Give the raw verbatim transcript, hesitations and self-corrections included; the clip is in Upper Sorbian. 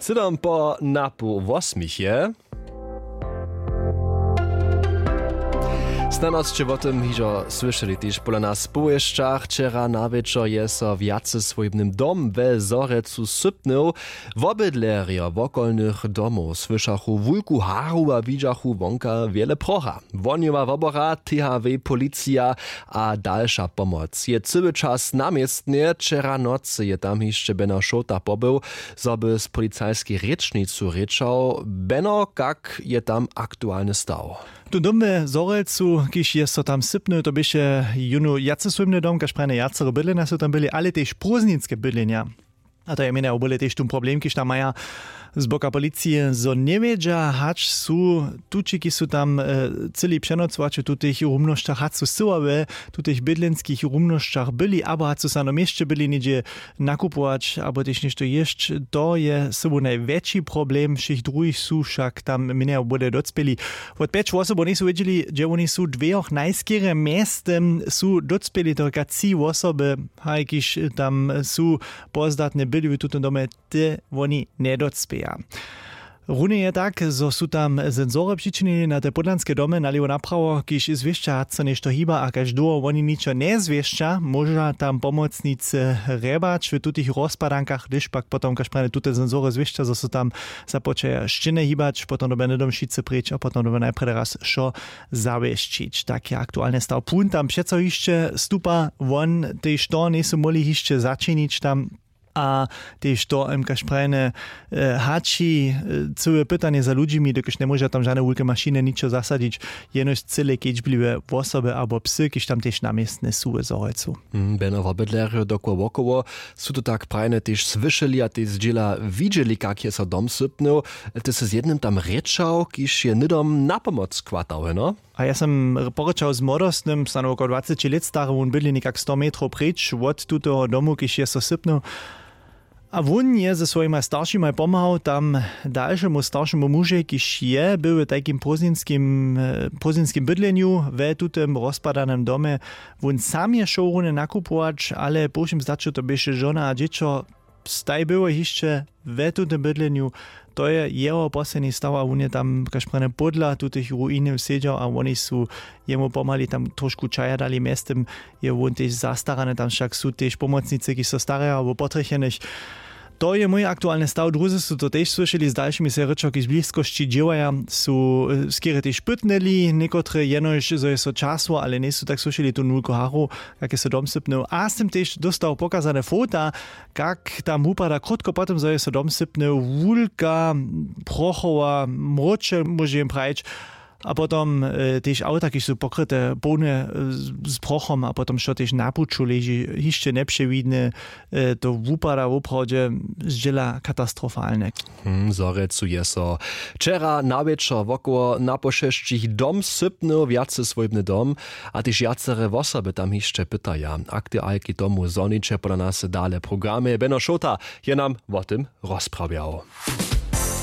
Sydom po napoł wosmich je. Snano sće wo tym hižo słyšeli tež pola nas w powěsćach. Wčera na wječor je so wjaceswójbny dom we Zhorjelcu sypnył. Wobydlerjo wokolnych domow słyšachu wulku haru a widźachu wonka wjele procha. Wohnjowa wobora, T H W, policija a dalša pomoc je cyły čas na městnje. Wčera nocy je tam hišće beno šołta pobył, zo by z policajskej rěčnicu rěčał. Beno, kak je tam aktualny staw? Tu dom we Zhorjelcu, kiž je so tam sypnył, to běše jónu wjacesłójbny dom, kaž prajene wjacere bydlenja su tam byli, ale tež prózdninske bydlenja. A to je mjenje a bóle tež tón problem, kiž tam maja z boka policije, zo njewědźa, hač su tući, kiž su tam cylej přenocowaće w tutych rumnosćach, hač su syła we tutych bydlenskich rumnosćach byli, abo hač su sano měsće byli něhdźe nakupować abo tež něšto jěsć. To je sobu najwjetši problem, wšěch druhich su wšak tam mjenje a bóle docpěli. Wot pjeć wosobow njejsu wědźeli, hdźe woni su, dwejoch najskerje mjeztym su docpěli, to rěka tři wosoby, haj kiž tam su pozdatnje byli w tutym domje, te woni njedocpěja. Runje je tak, zo su tam sensory přičinili na te pódlanske domy nalěwo naprawo, kiž zwěsća, hač so něšto hiba, a kaž dołho woni ničo njezwěsća, móža tam pomocnicy hrjebać w tutych rozpadankach, hdyž pak potom kaž prajene tute sensory zwěsća, zo su tam započaja šćěny hibać, potom dyrbja hnydom wšitcy preč a potom dyrbja najprjedy raz wšo zawěsćić. Tak je aktualny staw. Płón tam přeco hišće stupa, won tež to njejsu móhli hišće začinić tam. A tež to, em, kaž prajene, hači, cyłe pytanje za ludźimi, dokelž njemóža tam žane wulke mašiny ničo zasadźić, jenož cyle kedźbliwe wosoby abo psy, kiž tam tež na městnje su w Zhorjelcu. Beno wobydlerjo dokoło wokoło su to tak prajene tež słyšeli a tež zdźěla widźeli, kak je so dom sypnył. Ty sy z jednym tam rěčał, kiž je hnydom na pomoc chwatał, heno? A ja sym porěčał z młodostnym, snano wokoło dwaceći lět stary, wón bydli někak sto metrow preč wot tutoho domu, kiž je so sypnył. A wón je ze swojimaj staršimaj pomhał tam dalšemu staršemu mužej, kiž je był w tajkim prózdninskim, prózdninskim bydlenju we tutym rozpadanym domje. Wón sam je šoł runje nakupować, ale po wšěm zdaću to běše žona a dźěćo. Staj było hišće we tutym bydlenju. To je jeho posledni staw a wón je tam kaž prajene pódla tutych ruiny sedźał a woni su jemu pomhali tam trošku čaja dali. Mjeztym je wón tež zastarany, tam wšak su tež pomocnicy, kiž so staraja wo potrjechenych. To je mój aktualny staw. Druzy su to tež słyšeli, z dalšimi sej rěčał, kiž w bliskosći dźěłaja, su skerje tež pytnyli někotre, jenož zo je so časło, ale njejsu tak słyšeli tu nulku haru, kak je so dom sypnył. A sym tež dóstał pokazane fota, kak tam wupada krótko potom, zo je so dom sypnył, wulka prochowa mróče, móže jim prajić. A potom tež awta, kiž su pokryte połne z prochom, a potom wšo tež na puću leži hišće njepřewidne. To wupada woprawdźe zdźěla katastrofalne. Hm, w Zhorjelcu je so wčera na wječor wokoło napoł šesćich dom sypnył, wjaceswójbny dom, a tež wjacere wosoby tam hišće pytaja. Aktualki tomu zhoniće pola nas dale w programje. Beno Šołta je nam wo tym rozprawjał.